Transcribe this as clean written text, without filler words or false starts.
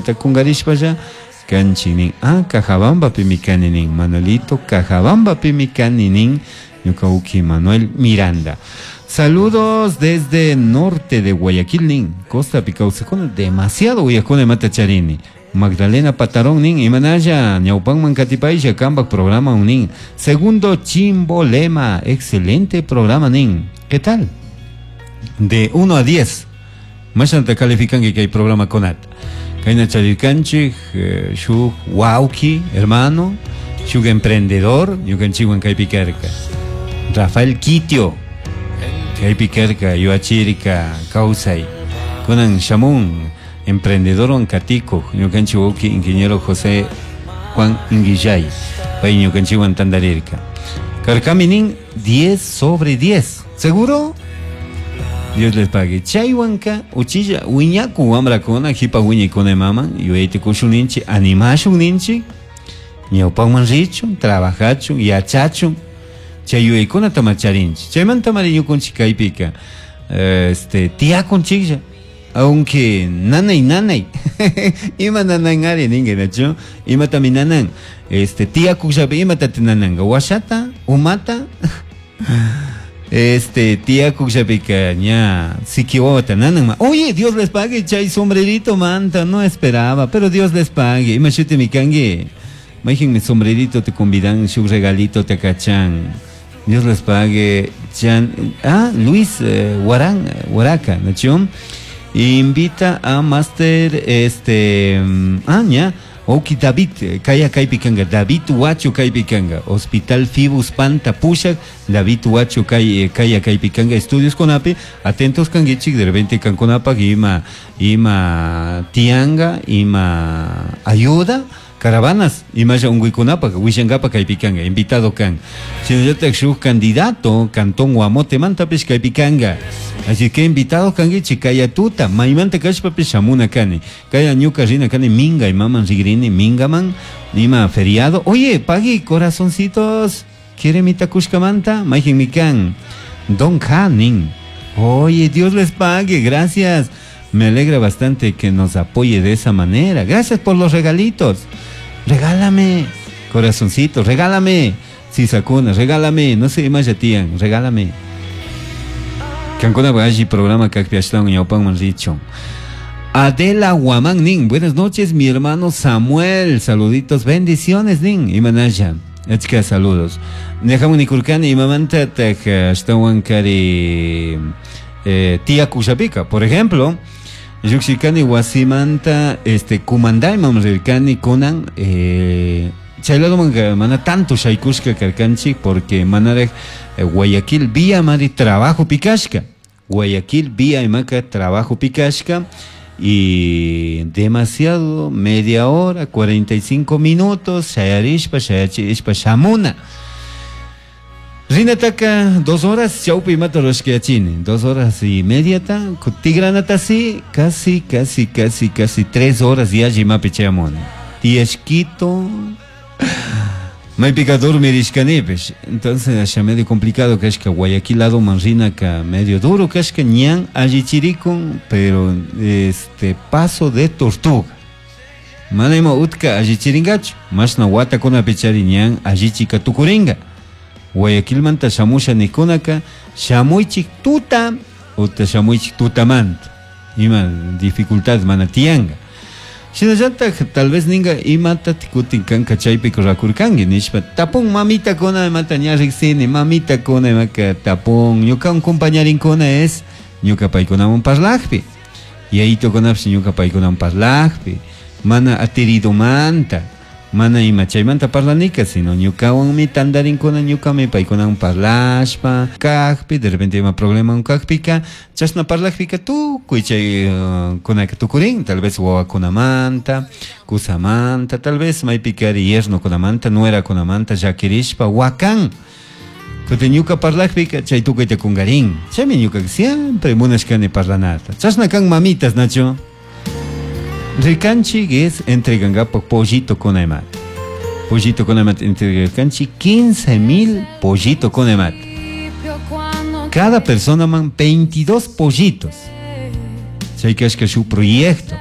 Chaymanta kungarishpalla kanchik nin. Ah, Cajabambapimi kani nin. Manuelito Cajabambapimi kani nin. Ñuka uki Manuel Miranda. Saludos desde norte de Guayaquil nin. Costa kawsakuna demasiado uyakuna imata charini. Magdalena Patarón nin, imanalla, ñawpanman katipaylla, kambak programa nin. Segundo Chimbolema, excelente programa nin. ¿Qué tal? De 1 a 10. Mashnata calificanki kay programa kunata. Kayna charirkanchik, shuk wawki, hermano, shuk emprendedor, ñukanchikwan kaypi karka. Rafael Quitio, kaypi karka, yuachirka, kawsay. Kunan shamun, emprendedor katikuq, ñukanchik wawki ingeniero José Juan Inguillay, pay ñukanchikwan tandarirka. Karkami nin 10 sobre 10. ¿Seguro? Dios les pague. Chaywanka uchilla wiñaku wamrakuna hipa wiñaykuna maman yuyayta kushun ninchik animashun ninchik ñawpakman richun trabajachun yachachun chay yuyaykunata macharinchik chaymanta mari ñukunchik kaypika tiyakunchiklla aunque nanay nanay ima nananari ninki nachu imatami nanan tiyakuqllapi imatata nananka washata umata tiyakuqllapika ña siki wawata nananma. Oye, Dios les pague chay sombrerito manta, no esperaba, pero Dios les pague. Ima shutimi kanki? Mayqinmi sombrerito te convidan, shuk regalito te kachan. Dios les pague. Chan, Luis Guarán, Guaraca, ¿no? Invita a Master, ña, Oki David, kaya kaypi kanga, David Huacho kaypi kanga, Hospital Fibus Panta Pushak, David Huacho kaya kaypi kanga, estudios conapi, atentos kangichik, de repente kankunapaq ima tianga, ima ayuda, caravanas, imalla unquykunapaq, wishankapa kaypi kanga, invitado kan. Shinallatak shuk candidato, Cantón Guamote-mantapish kaypi kanga. Así que invitado kangichik, kaya tuta, maymanta kashpapish shamuna kani. Kaya ñuka rina kani minga, imaman rigrini, mingaman, ima feriado. Oye, pagui, corazoncitos, ¿quiere mi takushkamanta? Mayqin mi kan. Don Hanin. Oye, Dios les pague, gracias. Me alegra bastante que nos apoye de esa manera. Gracias por los regalitos. Regálame, corazoncito, regálame. Sisakuna, regálame. No sé, más ya tían, regálame. Cancuna alli programa kakpi ashtawan ñawpanman richun. Adela Guamán nin, buenas noches, mi hermano Samuel. Saluditos, bendiciones nin. Imanalla, achka saludos. Nejamun nikurkani imamanta taj ashtawan kari tiyakushapika. Por ejemplo, llukshikani wasimanta, kumandayman rirkani kunan, chay ladoman mana tanto shaykushka karkanchik porque manaraj Guayaquil vía mari trabajo pikashka. Guayaquil vía imaka trabajo pikashka y demasiado, media hora, 45 minutos, shayarishpa, shayachishpa, shamuna. Rinataka 2 horas, chaupi imata rurashkayachini, 2 horas y media ta, tigranata sí, casi, casi, casi, casi 3 horas ya imapi chayamuni. Tiashquito, maypika dormirishkanipish. Entonces, asha medio complicado kashka Guayaquil lado manrinaka medio duro kashka ñan allichirikun, pero paso de tortuga. Mana ima utka allichiringachu, mashna watakunapi chari ñan allichika tukuringa. Guayaquilmanta shamusha nikunaka, shamuychik tuta, uta shamuychik tutamanta. Ima dificultad mana tiyanga. Shinallatak tal vez ninga imata kutin kanka chaypi rakurkanki nishpa tapun mamita kuna imata ña riksini, mamita kuna imaka tapun ñuka un compañarinkuna es ñuka paykunawan parlakpi, yayito kunapish ñuka paykunawan parlakpi, mana atiridomanta, mana ima chaymanta parlanika, sino ñukawanmi tantarinkuna, ñukami paykunawan parlashpa kakpi, de repente ima problema kakpika, chashna parlakpika tukuy chay kunaka tukurin, tal vez wawakunamanta, kusamanta, tal vez maypikari yernokunamanta, nuerakunamanta llakirishpa wakan. Kutin ñuka parlakpika chay tukuyta kungarin. Chaymi ñuka siempre munashkani parlanata. Chashna kan mamitas, Nacho. Rikanchik es entregangapak pollito con emat. Pollito con emat entreganchik 15,000 pollito con emat. Cada persona man 22 pollitos. Chay kashka su proyecto.